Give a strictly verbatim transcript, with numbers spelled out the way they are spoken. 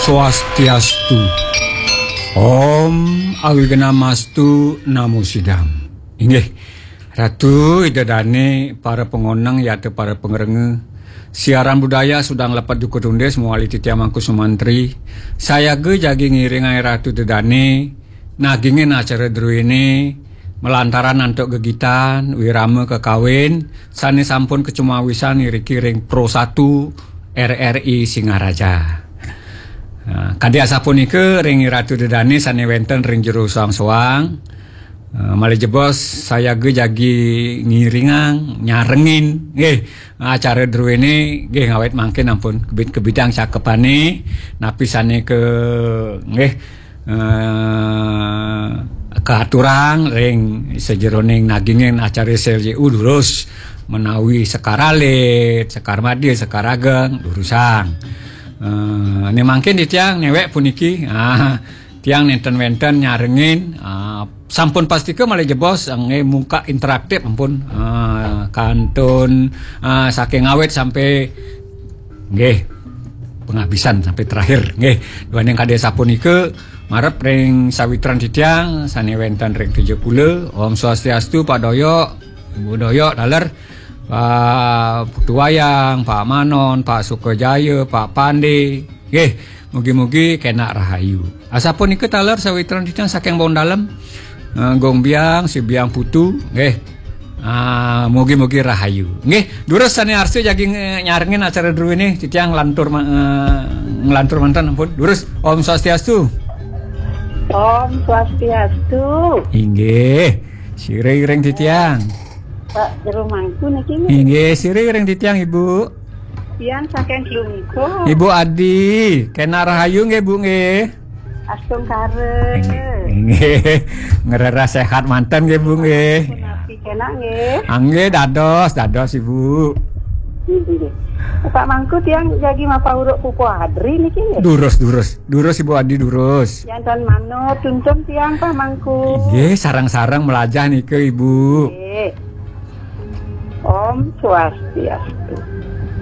Swastiastu. Om Awignamastu Namo Sidam. Inggih, Ratu Ida Dane, para pangoneng yata para pangrengga. Siaran budaya Sudang Lepet Duka Tundis mawali titiang Mangku Sumantri. Sayaga jagi ngiringang Ratu Ida Dane nagingin acara druene malantaran antuk gegitan wirama kakawin sane sampun kacumawisan iriki ring Pro satu R R I Singaraja. Nah, kadi asapunika ring Ratu Ida Dane sane wenten ring jero soang-soang. Eh, malih jebos sayaga jagi ngiringang, nyarengin nggih acara druene nggih ngawit mangkin ampun kebit-kebitang cakepane napi sane ke nggih eh, kaaturang ring sajeroning nagingin acara S L J U durus menawi sekar alit, sekar madya, sekar ageng durusang. Eh, ne mangkin titiang newek puniki. Ah, tiang nenten wenten nyarengin ah, sampun pastika malih jebos nggih muka interaktif ampun. Ah, kantun ah, saking awit sampai nggih penghabisan sampai terakhir nggih. Duaning kadi sapunika marep ring sawitran titiang sane wenten ring Tejapula. Om Swastiastu Pak Doyok, Ibu Doyok taler, Pak Putu Wayang, Pak Manon, Pak Sukajaya, Pak Pande. Nggih, mugi-mugi kenak rahayu. Asapunika taler sawitran titiang saking Bong Dalem. Eh, Gong Biang, Si Biang Putu, nggih. Ah, mugi-mugi rahayu. Nggih, durus sane arsa jagi nge- nyarengin acara druene titiang nglantur ma- eh, nglantur manten ampun. Durus Om Swastiastu. Om Swastiastu. Inggih. Sira iring titiang. Pak Jero Mangku niki nggih. Inggih, sira iring titiang Ibu. Tiang saking Klungkung. Ibu Adi, kenak rahayu nggih Bu nggih. Astungkara. Inggih. Ngrereh sehat manten nggih Bu nggih. Punapi kenak nggih. Ah, nggih dados, dados Ibu. Inggih. Pak Mangku tiang jagi mapauruk pupu adri niki nggih. Durus, durus. Durus Ibu Adi durus. Tiang tan manut tuntun tiang Pak Mangku. Inggih, sareng-sareng melajah nika Ibu. Nggih. Om Swastiastu.